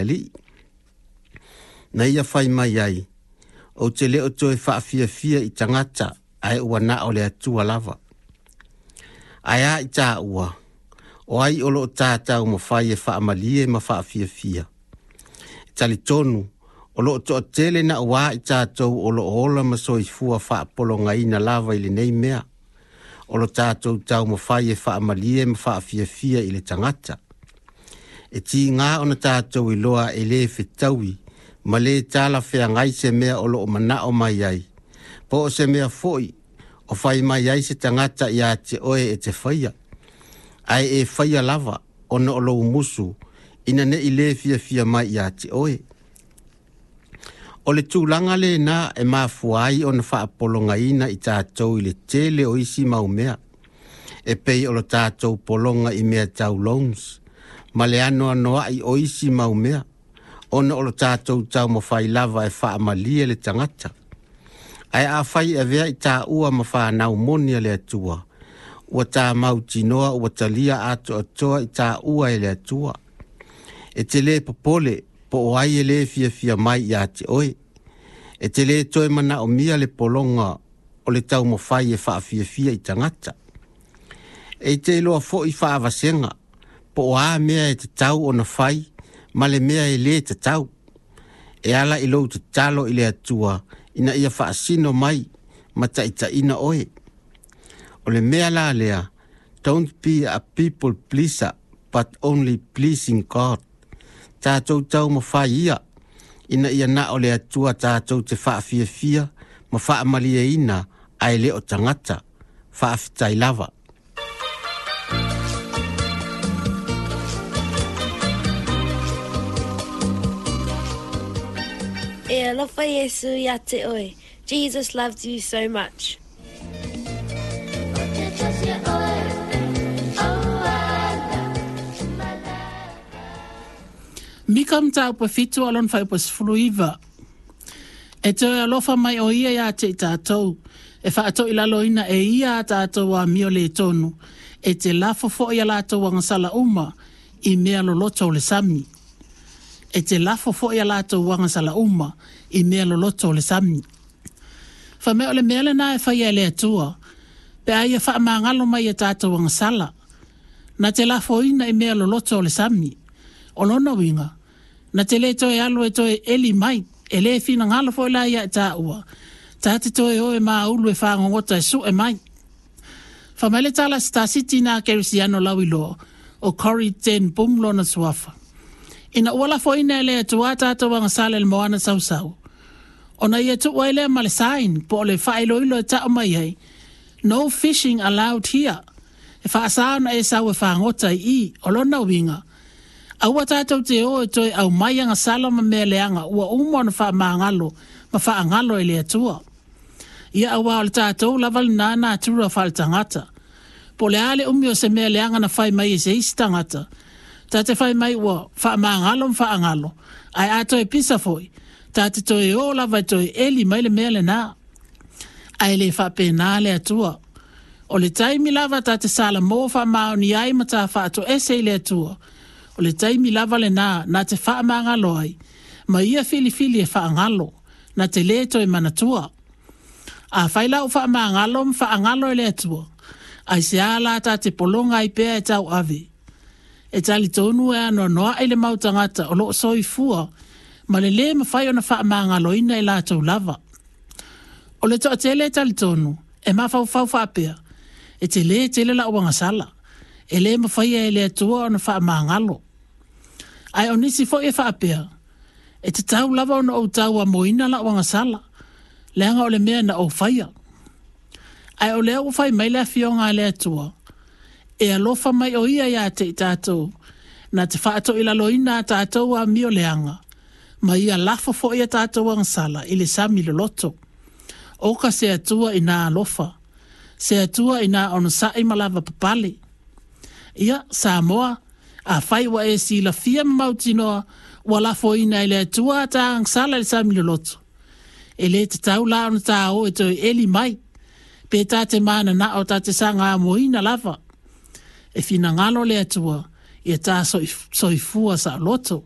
le Alii. Na ia fai mai ai, ou te le o toe faafiafia i tagata ae ua na o le Atua lava. Ae a i tāua, o ai o loo tātau mawhai e faamalie ma faafiafia. E talitonu, o loo toatele na ua i tātou o loo ola ma soifua faapologaina lava i lenei mea. O lo tātou taumafai e faamalie ma faafiafia i le tagata. E tiga ona tātou iloa e lē fetaui ma lē talafeagai se mea o loo manao mai ai. Po o se mea foi o fai mai ai se tagata ia te oe e te faia. Ae e faia lava ona o lou musu ina ne i lē fiafia mai ia te oe. O le tulaga lena e mafua ai ona faapologaina i tatou i le tele o isi mau mea. E pei o lo tatou pologa i mea tau loans, ma le anoanoai o isi mau mea, ona o lo tatou taumafai lava e faamalie le tagata. Ae afai e avea i tāua ma whanau moni a le Atua, ua tā mautinoa ua talia atoatoa i tāua e le Atua. E te lē popole po o ai e lē fiafia mai ia te oe. E te lē toe manaomia le pologa o le taumafai e faafiafia i tagata. E te iloa foi faavasega po o a mea e tatau ona fai ma le mea e lē tatau. E ala i lou tatalo i le Atua ina ia faasino mai ma taitaiina oe. O le mea la lea, don't be a people pleaser, but only pleasing God. Tātou taumafai ia, ina ia na o le Atua tātou te faafiafia ma faamalieina ae le o tagata. Faafetai lava. E alofa Iesu ia te oe. Jesus loves you so much. Mika mataupu e 7 o lona fuaiupu e 19. E toe alofa mai o ia iā te i tātou, e faatoilaloina e ia a tātou amio lē tonu, e te lafo foi a latou agasala uma i mea loloto o le sami. E te lafo foi a latou agasala uma i mea loloto o le sami. Fai mai o le mea lenā e faia e le Atua, pe a ia faamagalo mai i a tātou agasala, na te lafoina i mea loloto o le sami. O lona uiga, na te lē toe alu e toe eli mai, e lē finagalo foi la ia i tāua, tā te toe o e māulu e fagogota e suʻe mai. Fai mai le tala a se tasiti nā Kerisiano lauiloa, o Corrie ten Boom lona suafa. Ina ua lafoina e le Atua a tātou agasala i le moana sausau, ona ia tuu ai lea ma le sign po o le faailoilo e taʻu mai ai, No fishing allowed here. E faasā ona e sau e fagota i i, o lona uiga, aua tātou te o e toe aumai agasala ma mea leaga ua uma ona faamagalo ma faagalo e le Atua. Ia auā o le tātou lava lenā natura faaletagata. Po o le a le umi o se mea leaga na fai mai e se isi tagata, ta te fai mai ua faamagalo ma faagalo, ae a toe pisa foi, ta te toe o lava e toe eli mai le mea lenā. Ae le faapena le Atua. O le taimi lava ta te salamo faamaoni ai ma ta faatoese i le Atua, o le taimi lava lenā na te faamagalo ai, ma ia filifili e faagalo, na te lē toe manatua. Afai la ua faamagalo ma faagalo e le Atua, aisea la ta te pologa ai pea e tauave? E talitonu e anoanoaʻi le mau tagata o loo soifua ma le lē mafai ona faamagaloina e latou lava. O le toatele e talitonu e mafaufau faapea, E telē tele la'u agasala, e lē mafaia e le Atua ona faamagalo. Ae o nisi foi e faapea, E tatau lava ona ou tauamoina la'u agasala, leaga o le mea na ou faia. Ae o lea ua fai mai le Afioga a le Atua, e alofa mai o ia iā te i tātou, na te faatoilaloina a tātou amio leaga, ma ia lafo foi a tātou agasala i le sami loloto. Oka se Atua inā alofa, se Atua inā onosaʻi ma lavapapale. Ia, Samoa, afai ua e silafia ma mautinoa ua lafoina e le Atua a tā agasala i le sami loloto, e lē tatau la ona tā o e toe eli mai, pe tā te mananao tā te sagāmoina lava. E finagalo le Atua ia tā soifua saoloto.